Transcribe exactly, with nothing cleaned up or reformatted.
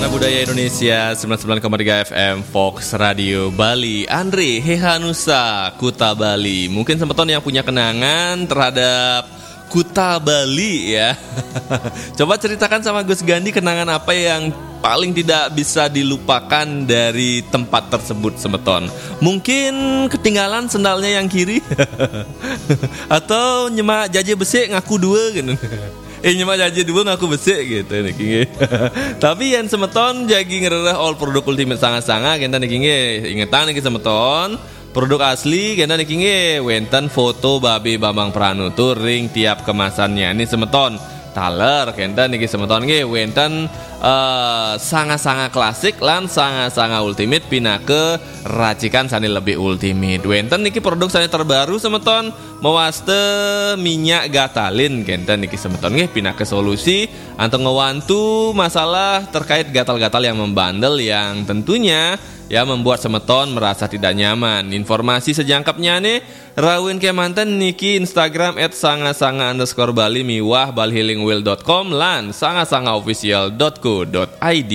Budaya Indonesia sembilan sembilan koma tiga F M Fox Radio Bali. Andre Hehanusa, Kuta Bali. Mungkin semeton yang punya kenangan terhadap Kuta Bali ya. Coba ceritakan sama Gus Gandi kenangan apa yang paling tidak bisa dilupakan dari tempat tersebut semeton. Mungkin ketinggalan sendalnya yang kiri. Atau nyemak jaje besik ngaku dua gitu. Eh, nyemak jaje dua ngaku besik gitu niki nggih. Tapi yen semeton jagi ngrereh all produk Ultimate Sanga-Sanga kenten niki nggih. Ingetan niki semeton, produk asli kenten niki nggih wenten foto Babe Bambang Pranutur ring tiap kemasannya. Ini semeton taler kenten niki semeton nggih wenten eh, Sanga-Sanga klasik lan Sanga-Sanga Ultimate pinaka racikan sane lebih ultimate. Wenten niki produk sane terbaru semeton mewasta minyak gatalin kenten niki semeton nggih pinaka solusi antuk ngewantu masalah terkait gatal-gatal yang membandel yang tentunya ya membuat semeton merasa tidak nyaman. Informasi sejangkepnya nih rawin kemanten niki Instagram at sanga sanga underscore bali miwah bali healing well dot com lan sanga sanga official dot co dot I D.